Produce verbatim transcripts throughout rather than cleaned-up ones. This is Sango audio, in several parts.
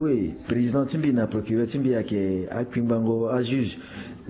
Oui, président ti mbi na procureur ti mbi ayeke akpingbango ajuge.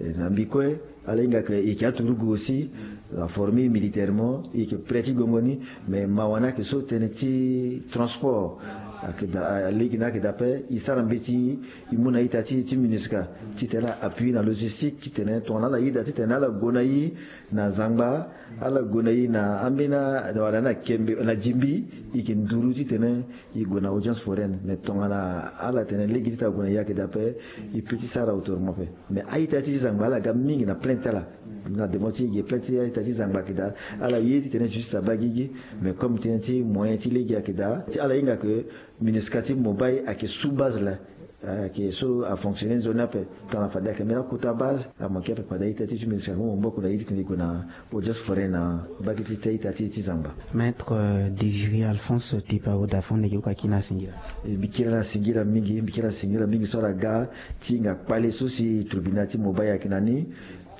Eh, na mbi kue, ala hinga ke e yeke aturugu aussi, aforme e militairement, e yeke prêt ti gongo ni. Mais mawa ni ayeke so tënë ti transport ayeke daa, lege ni ayeke daa ape. E sara mbeti e mu na ita ti e ti MINUSCA titene ala appui na logistique titene tongana ala yeda titene ala gue na e na zangba, ala gue na e na ambeni, wala na kembe, na dingbi, e yeke nduru titene e gue na audience foraine. Mais tongana ala tene lege ti tene ague na e ayeke daa ape, e peut ti sara autrement ape. Mais a-ita ti zangba ala ga mingi na plainte ti ala. Na demande ti e ge plainte ti a-ita ti zangba ayeke daa, ala ye titene justice abaa gigi. Mais comme tënë ti moyen ti lege ayeke daa, ti ala hinga ke MINUSCA ti Mobay ayeke sous base laa, ayeke so afonctionner nzoni ape. Tongana fade ayeke mbeni akota base, amanke ape. Fade a-ita ti e ti MINUSCA amu maboko na e titene e gue na audience foraine na mbage ti a-ita ti e ti zangba. Maître, euh, Désiré Alphonse Tepao Dafon, lege oko akiri na singila. E, mbi kiri na singila mingi, mbi kiri na singila mingi so ala ga ti hinga kpale so si tribunal ti Mobay ayeke na ni.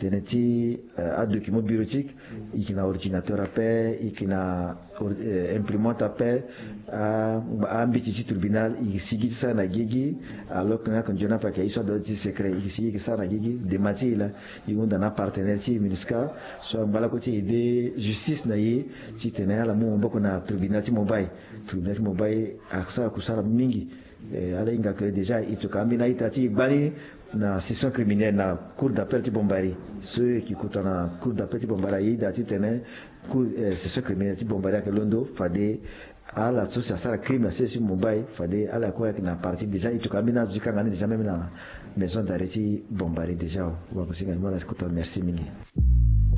Tënë ti, euh, adocument bureautique, e yeke na ordinateur ape, e yeke na or-, euh, imprimante ape. A, a-mbeti ti tribunal e yeke sigi ti sara na gigi. Alors que na yeke nzoni ape ayeke ye so adua ti secret, e yeke sigi e yeke sara na gigi. Dema ti e laa, e hunda na apartenaire ti e MINUSCA so angba lakue ti aider justice na e titene ala mu maboko na tribunal ti Mobay. Tribunal ti Mobay asara kusala mingi. Eh, ala hinga ke déjà e toka ambeni a-ita ti e gbani na session criminelle na cour d'appel ti Bombari. So e yeke kota na cour d'appel ti Bombari, aye daa titene cour, eh, session criminelle ti Bombari ayeke londo. Fade ala so si asara crime na sese ti Mobay, fade ala kue ayeke na partie. Déjà e toka ambeni azo ti kanga ni déjà même na maison d'arrêt ti Bombari déjà. Wagosinga ni mo ala si kota, merci mingi.